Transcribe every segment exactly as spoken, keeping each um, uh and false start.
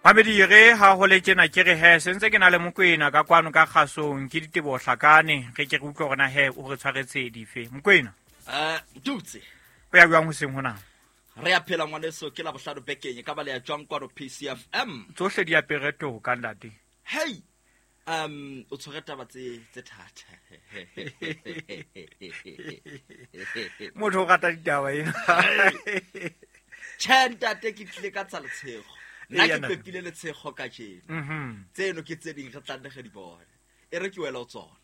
Mamedi re ha ho le tjena ke re he sentse ke na le Mokwena ka kwano ka kgasong ke Diteboho Hlakane re ke re utlwe hore na he o re tshwaretse dife. Mokwena. Eh Dutse. O ya jwang hoseng hona? Re a phela ngwaneso ke la bohlano bekeng ka ba le ya jwang kwano P C F M. Tsohle di apere toka ntate. Hey. Um o tshwere taba tse tse thata. Motho o rata ditaba ena. Tjhe ntate ke tlile ka tsa letshego. Nna ke pepile letshego kajeno. Mhm. Tseno ke tse ding re tla nne re di bone. E re ke wela o tsona.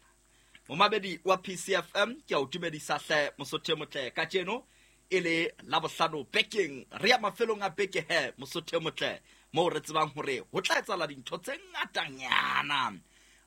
Momamedi wa P C F M ke a o dumedisa hle Mosotho motle kajeno e le la bohlano bekeng re ya mafelong a beke he Mosotho motle mo re tsebang hore ho tla etsahala dintho tse ngatanyana.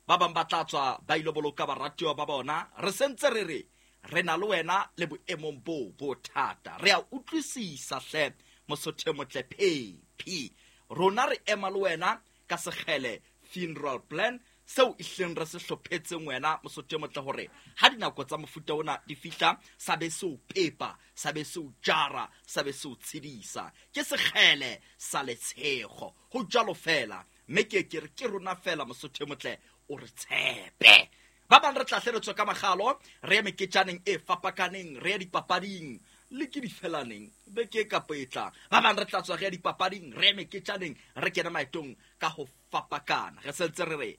Ba bang ba tla tswa ba ilo boloka baratuwa ba bona re sentse re re re na le wena le boemong bo bo thata. Re a utlwisisa hle Mosotho motle P P rona re ema le wena ka sekgele funeral plan seo ihleng re se hlophetseng wena Mosotho motle hore ha dinako tsa mofuta ona di fihla sa be se o pepa sa be se o jara sa be se o tshedisa ke sekgele sa letshego ho jalo fela mme ke ke re ke rona fela Mosotho motle o re tshepe. Ba bang re tla hle re tswe ka magalo re ye meketjaneng e fapakaneng re ye dipapading le ke difelaneng beke kapa e tlang. Ba bang re tla tswa re ye dipapading re ye meketjaneng re kene maetong ka ho fapakana re sentse re re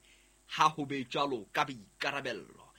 ha ho be jwalo ka boikarabello.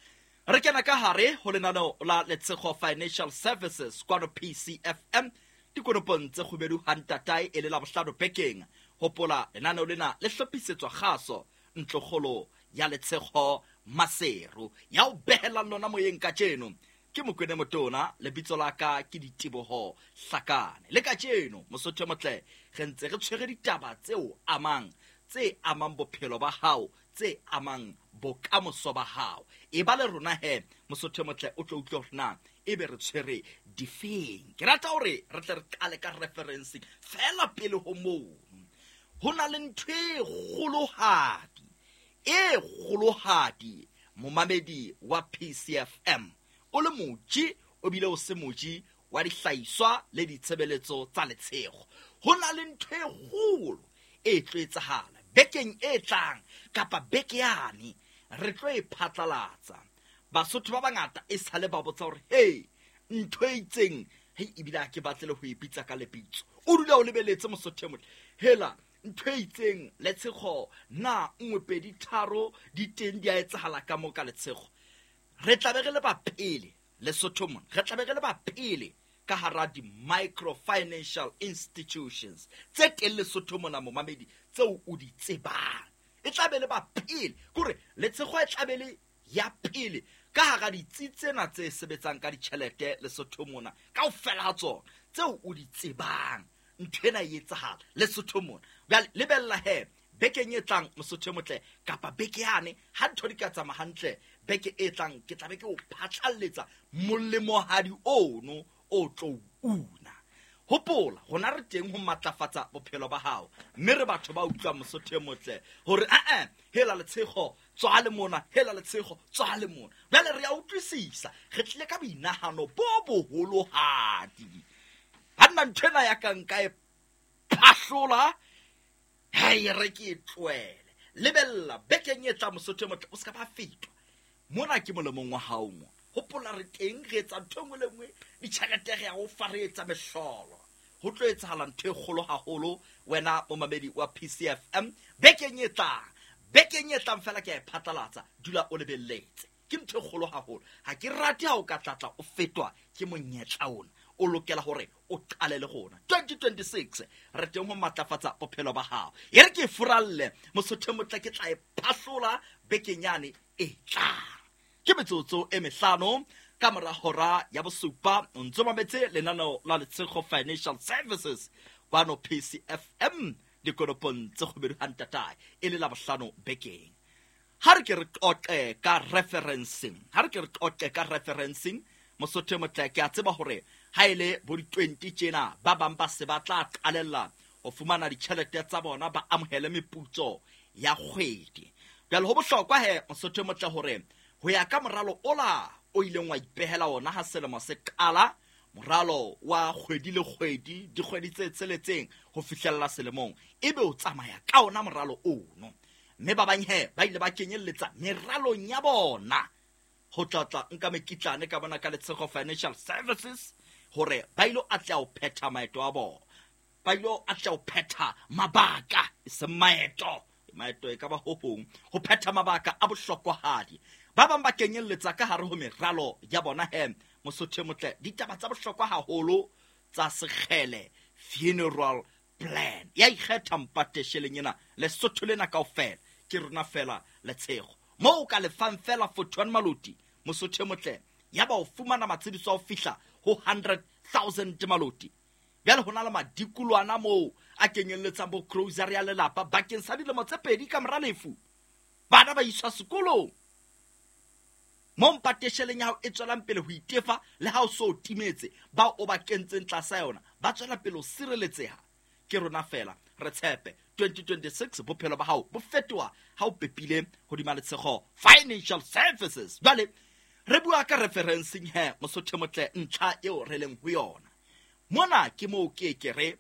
Re kena ka hare ho lenaneo la Letshego Financial Services kwano P C F M dikonopong tse kgubedu ha ntatae e le la bohlano bekeng. Hopola lenaneo lena le hlophisetswa kgaso ntlokgolo ya Letshego Maseru ya o behelang lona moyeng kajeno ke Mokwena Motona lebitso la ka ke Diteboho Hlakane. Le kajeno Mosotho motle re ntse re tshwere ditaba tseo amang tse amang bophelo ba hao tse amang bokamoso ba hao. E ba le rona he Mosotho motle o tlo utlwa hore na ebe re tshwere difeng. Ke rata hore re tle re qale ka referencing fela pele ho moo. Ho na le ntho e kgolohadi e kgolohadi momamedi wa P C F M o le moji o bile o se moji wa dihlahiswa le ditshebeletso tsa letshego. Ho na le ntho e kgolo e tlo etsahala bekeng e tlang kapa beke yane re tlo e phatlalatsa. Basotho ba bangata e sale ba botsa hore hey ntho e itseng hei ebile ha ke batle le ho e bitsa ka lebitso. O dula o lebeletse Mosotho motle hela ntho e itseng Letshego na nngwe pedi tharo di teng di a etsahala ka mo ka Letshego. Re tla be re le ba pele Lesotho mona re tla be re le ba pele ka hara di micro financial institutions tse teng Lesotho mona momamedi tseo o di tsebang. E tla be le ba pele kore Letshego e tla be le ya pele ka hara ditsi tsena tse sebetsang ka ditjhelete Lesotho mona kaofela ha tsona tseo o di tsebang. Ntho ena e etsahala Lesotho mona. Jwale lebella he bekeng e tlang Mosotho motle kapa beke yane ha ntho di ka tsamaya hantle beke e tlang ke tla be ke o phatlalletsa molemohadi ono o tlo una. Hopola rona re teng ho matlafatsa bophelo ba hao mme re batho ba utlwa Mosotho motle hore a eh hela Letshego tswa le mona hela Letshego tswa le mona. Jwale re a utlwisisa re tlile ka boinahano bo boholohadi. Ha nna ntho ena ya ka nka e phahlola hei re ke e tlohele. Lebella bekeng e tlang Mosotho motle o ska ba fetwa mona ke molemong wa hao mo. Hopola re teng re etsa ntho e nngwe le nngwe ditjhelete re ya ho fa re etsa mehlolo. Ho tlo etsahala ntho e kgolo haholo wena momamedi wa P C F M bekeng e tlang. Bekeng e tlang fela ke a e phatlalatsa dula o lebelletse. Ke ntho e kgolo haholo. Ha ke rate ha o ka tlatla o fetwa ke monyetla ona. O lokela hore o qale le rona twenty twenty-six re teng ho matlafatsa bophelo ba hao. E re ke furalle Mosotho motle ke tla e phahlola bekeng yane e tlang. Ke metsotso e mehlano ka mora hora ya bosupa o ntso mametse lenaneo la Letshego Financial Services kwano P C F M dikonopong tse kgubedu ha ntatae e le la bohlano bekeng. Ha re ke re qoqe ka referencing ha re ke re qoqe ka referencing Mosotho motle ke a tseba hore ha ele bo di twenty tjena ba bang ba se ba tla qalella ho fumana ditjhelete tsa bona ba amohele meputso ya kgwedi. Jwale ho bohlokwa he Mosotho motle hore ho ya ka moralo ola o ileng wa ipehela ona ha selemo se qala Moralo wa kgwedi le kgwedi, dikgwedi tse tsheletseng ho fihlella selemong, ebe o tsamaya ka ona moralo ono. Mme ba bang he ba ile ba kenyelletsa meralong ya bona ho tlatla nka mekitlane ka bona ka Letshego Financial Services hore ba ilo atleha ho phetha maeto a bona, ba ilo atleha ho phetha mabaka, e seng maeto, maeto e ka ba ho hong, ho phetha mabaka a bohlokwahadi. Ba bang ba kenyelletsa ka hare ho meralo ya bona he Mosotho e motle ditaba tsa bohlokwa haholo tsa Sekgele funeral plan. Ya ikgetha mpate sheleng ena Lesotho lena kaofela ke rona fela Letshego mo o ka lefang fela forty-one maloti Mosotho e motle, ya ba o fumana matshediso a ho fihla ho hundred thousand maloti. Bjale ho na le madikolwana moo a kenyelletsang bo grocery ya lelapa bakeng sa dilemo tse pedi ka mora lefu. Bana ba iswa sekolong. Mo mpate sheleng ya hao e tswelang pele ho itefa le ha o so timetse, bao o ba kentseng tlasa yona ba tswela pele ho sireletseha. Ke rona fela re tshepe twenty twenty-six bophelo ba hao bo fetoha ha o pepile hodima Letshego Financial Services. Jwale re bua ka referencing he Mosotho motle, ntlha eo re leng ho yona mona ke moo ke ke re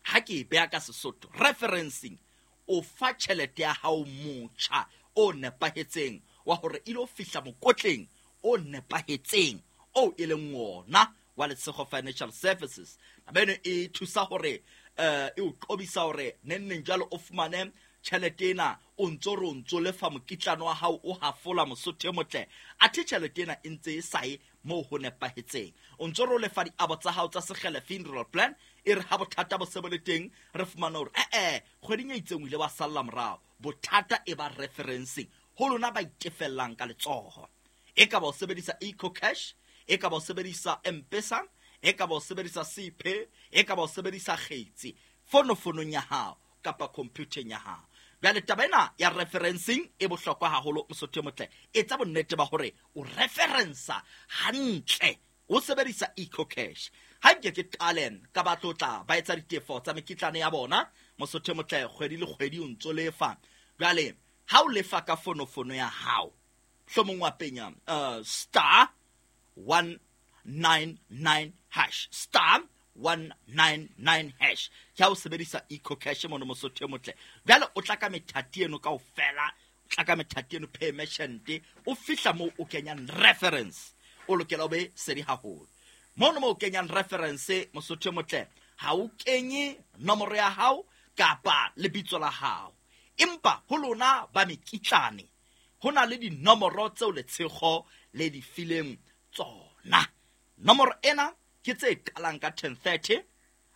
ha ke e beha ka Sesotho, referencing o fa tjhelete ya hao motjha o nepahetseng wa hore e lo fihla mokotleng o nepahetseng o e leng wona wa Letshego Financial Services. Taba eno e thusa hore eh e o qobisa hore neng neng jwalo o fumane tjhelete ena o ntso re o ntso lefa mokitlano wa hao o hafola Mosotho e motle, athe tjhelete ena e ntse e sa ye moo ho nepahetseng. O ntso re o lefa diabo tsa hao tsa Sekgele funeral plan, e re ha bothata bo se bo le teng re fumane hore eh eh kgweding e itseng o ile wa salla morao. Bothata e ba referencing ho lona ba itefellang ka letsoho. E ka ba o sebedisa EcoCash, e ka ba o sebedisa M-Pesa, e ka ba o sebedisa C P, e ka ba o sebedisa kgetsi fonofonong ya hao kapa computereng ya hao. Jwale taba ena ya referencing e bohlokwa haholo Mosotho e motle. Etsa bonnete ba hore o referensa hantle o sebedisa EcoCash. Ha nke ke qale ka ba tlotla ba etsa ditefo tsa mekitlane ya bona Mosotho e motle, kgwedi le kgwedi o ntso lefa. Jwale ha o lefa ka fonofono ya hao, hlomong wa penya uh, star one nine nine hash, star one nine nine hash. Ke ha o sebedisa EcoCash mono Mosotho e motle. Jwale o tla ka methati eno kaofela, o tla ka methati eno pay merchant, o fihla moo o kenyang reference. O lokela o be sedi haholo. Mono moo o kenyang reference Mosotho e motle, ha o kenye nomoro ya hao kapa lebitso la hao. Empa ho lona ba mekitlane ho na le dinomoro tseo Letshego le di fileng tsona. Nomoro ena ke tse qalang ka ten thirty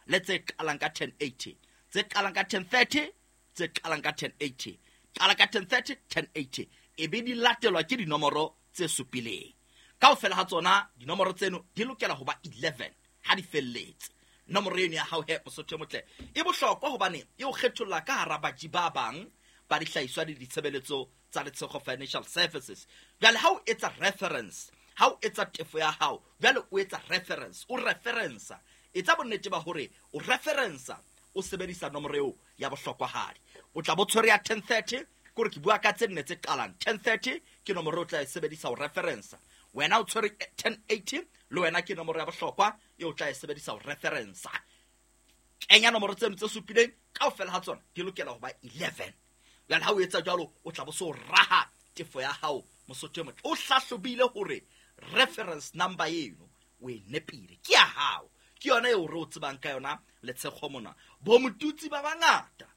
le tse qalang ka ten eighty, tse qalang ka ten thirty, tse qalang ka ten eighty, qala ka ten thirty, ten eighty, e be di latelwa ke dinomoro tse supileng. Kaofela ha tsona dinomoro tseno di lokela ho ba eleven ha di felletse. Nomoro eno ya hao he Mosotho e motle e bohlokwa hobane e o kgetholla ka hara baji ba bang ba dihlahiswa le ditshebeletso tsa Letshego Financial Services. Jwale ha o etsa reference, ha o etsa tefo ya hao, jwale o etsa reference, o referensa. Etsa bonnete ba hore o referensa o sebedisa nomoro eo ya bohlokwahadi. O tla bo tshwere ya ten thirty, ke hore ke bua ka tse nne tse qalang. ten thirty ke nomoro o tla e sebedisa ho referensa. Wena o tshwere ten eighty, le wena ke nomoro ya bohlokwa eo o tla e sebedisa ho referensa. Kenya nomoro tseno tse supileng kaofela ha tsona di lokela ho ba eleven. Jwale ha o etsa jwalo o tla bo so raha tefo ya hao Mosotho e motle. O hlahlobile hore reference number eno o e nepile, ke ya hao, ke yona eo re o tsebang ka yona Letshego mona. Bo motutsi ba bangata,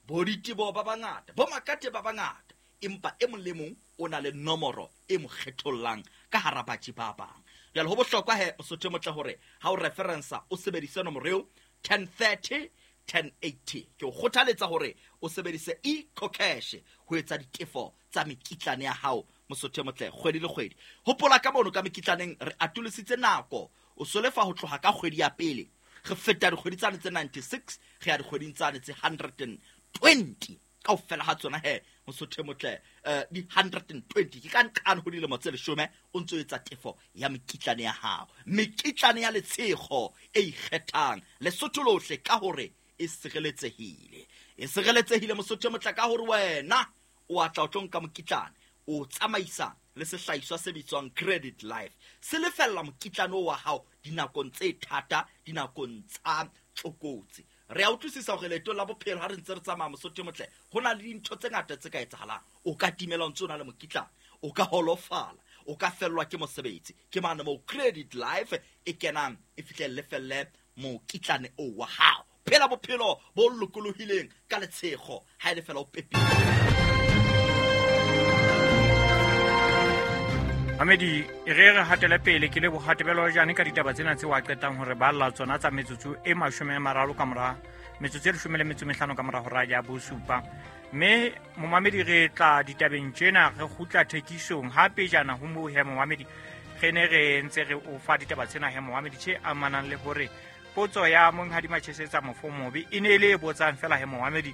bo ditebo ba bangata, bo makate ba bangata, empa e mong le mong o na le nomoro e mo kgethollang ka hara batjhi ba bang. Jwale ho bohlokwa he Mosotho e motle hore ha o referensa o sebedise nomoro eo ten thirty, ten eighty. Ke o kgothaletsa hore o sebedise EcoCash ho etsa ditefo tsa mekitlane ya hao Mosotho e motle kgwedi le kgwedi. Hopola ka mono ka mekitlaneng re atolositse nako, o so lefa ho tloha ka kgwedi ya pele, re feta dikgwedi tsane tse ninety-six, re ya dikgweding tsane tse hundred and twenty. Kaofela ha tsona he Mosotho e motle, eh, di hundred and twenty ke ka nqane ho dilemo tse leshome o ntso etsa tefo ya mekitlane ya hao. Mekitlane ya Letshego e ikgethang Lesotho lohle ka hore e sireletsehile. E sireletsehile Mosotho e motle ka hore wena o a tla o tlo nka mokitlane o tsamaisa le sehlahiswa se bitswang Credit Life. Se lefella mokitlane wa hao dinakong tse thata, dinakong tsa tlokotsi. Re a utlwisisa hore leeto la bophelo ha re ntse re tsamaya Mosotho motle, ho na le dintho tse ngata tse ka etsahalang. O ka timela o ntse o na le mokitlane, o ka holofala, o ka fellwa ke mosebetsi. Ke mane moo Credit Life e kenang e fihle lefelle mokitlane o wa hao. Phela bophelo bo lokolohileng ka letshego ha e le fela o pepile. Mamedi, re re hatele pele ke le bohatebelo jane ka ditaba tsena tse wa qetang hore ba lla tsona tsa metsotso e mashome a mararo ka mora metsotso e leshome le metso e mehlano ka mora hora ya bosupa. Mme momamedi re tla ditabeng tsena re kgutla thekisong hape jana ho moo he momamedi re ne re ntse re o fa ditaba tsena he momamedi tse amanang le hore potso ya monghadi Machesetsa Mofomobe e ne e le e botsang fela he momamedi